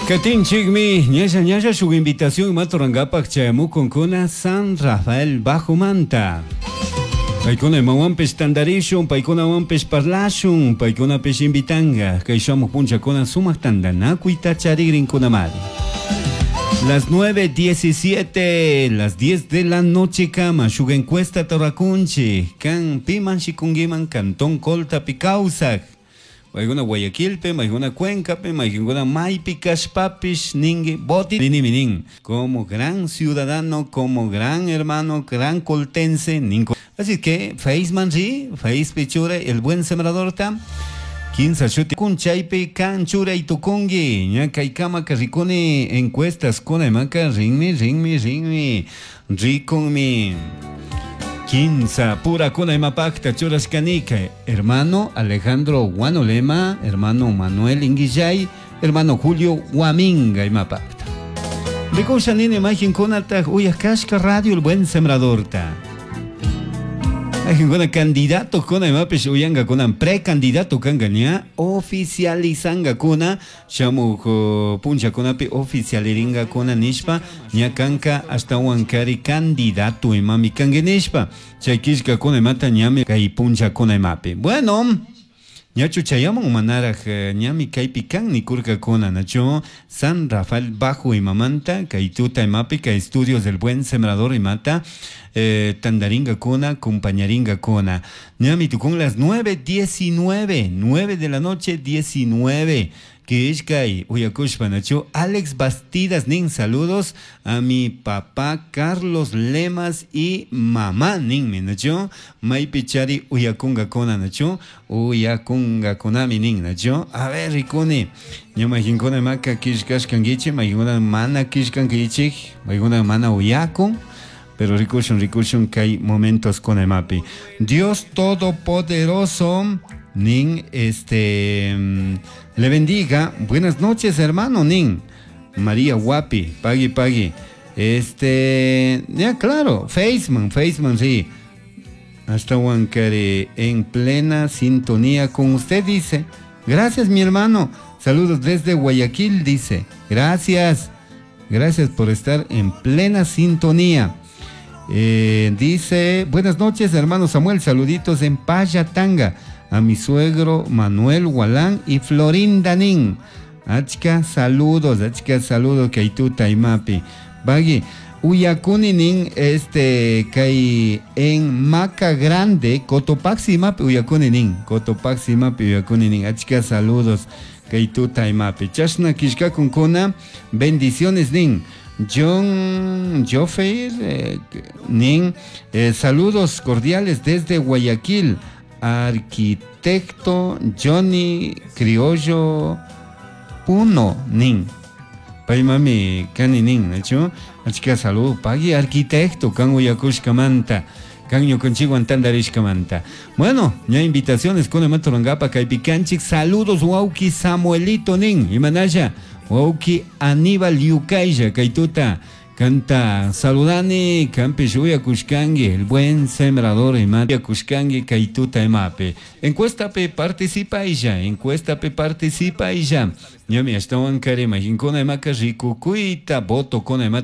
Katinchikmi ñalla ñalla shuk invitación maturankapak chayamukunkuna San Rafael Bajomanta. Paykuna imawanpish tantarishun, paykunawanpish parlashun, paykunapish invitanka kay shamuq punchakuna sumaq tantanakuyta charikrinkunamari. Las 9:17, las 10 de la noche kama, shuk encuesta rurakunchik, kan piman shikunkiman Cantón Coltapi kawsak. Maykuna Guayaquilpi, maykuna Cuencapi, maykuna maypi kashpapish ninki voti ninimi nin. Como gran ciudadano, como gran hermano, gran coltense, ninko. Así que Faceman ri, Facepi churay, el buen sembradorta. Kinsa shuti kun chaypi kan churay tukunki. Ña kaykamaka rikuni encuestas kuna imaka rinmi, rinmi, rinmi, rikunmi. Kinsa pura kuna imapakta churashkanika. Hermano Alejandro Guanolema, hermano Manuel Inguillay, hermano Julio Huaminga imapakta. Rikusha nini imagen kunataq uyakashka radio El Buen Sembradorta. Kuna candidato kuna imapish uyankakuna precandidato kanka ña oficializangakuna shamuk punchakunapi oficialiringakuna nishpa ña kanka ashtawan kari candidato imami kanki nishpa chay killkakuna imata ñami kay punchakuna imapi. Bueno, ñachu chayamun manaraj ñami kaypi kan nikurkakuna nachu San Rafael Bajo imamanta kay tuta imapi kay estudios del Buen Sembrador imata tantarinkakuna compañarinkakuna ñami tukun las 9:19, 9 de la noche 19 kishkay uyakushpa nachu Alex Bastidas nin saludos a mi papá Carlos Lemas y mamá ninmi nachu maypi chari uyakunkakuna nachu uyakunkakunami nin nachu. A ver, rikuni ña mayqinkuna imaka killkashkankichik, mayqinkuna mana killkankichik, mayqinkuna mana uyakun, pero rikushun, rikushun kay momentos kuna imapi. Dios Todopoderoso nin le bendiga. Buenas noches, hermano nin María Guapi, pagui pagui. Ya claro, Faceman, Faceman, sí. Hasta Huancaré, en plena sintonía con usted, dice. Gracias, mi hermano. Saludos desde Guayaquil, dice. Gracias. Gracias por estar en plena sintonía. Dice, buenas noches, hermano Samuel. Saluditos en Payatanga. A mi suegro Manuel Gualán y Florinda Nin. Achka saludos, achka saludos, kay imapi. Bagui, uyakuni nin, kay en Maca Grande, Cotopaxi imapi uyakuni nin, Cotopaxi imapi uyakuni nin, achka saludos, kay tuta imapi. Chashna killkakunkuna, bendiciones nin. John Jofeir, nin, saludos cordiales desde Guayaquil. Arquitecto Johnny Criollo Puno nin. Pay mami kani nin, nachu? Achka salud, pagui arquitecto kan uyakushkamanta, kan ñukanchikwan tantarishkamanta. Bueno, ña invitaciones con imata kaypi kanchik. Saludos wawki Samuelito nin, imanalla wawki Aníbal Yukaylla kay tuta. Kanta saludani, kanpish uyakushkanki, el buen sembrador ima uyakushkanki kay tuta imapi. Encuesta pe participa y ya, encuesta pe participa y ya. Ñami ashtawan kari imaginkuna imaka rikukuyta voto kuna imata.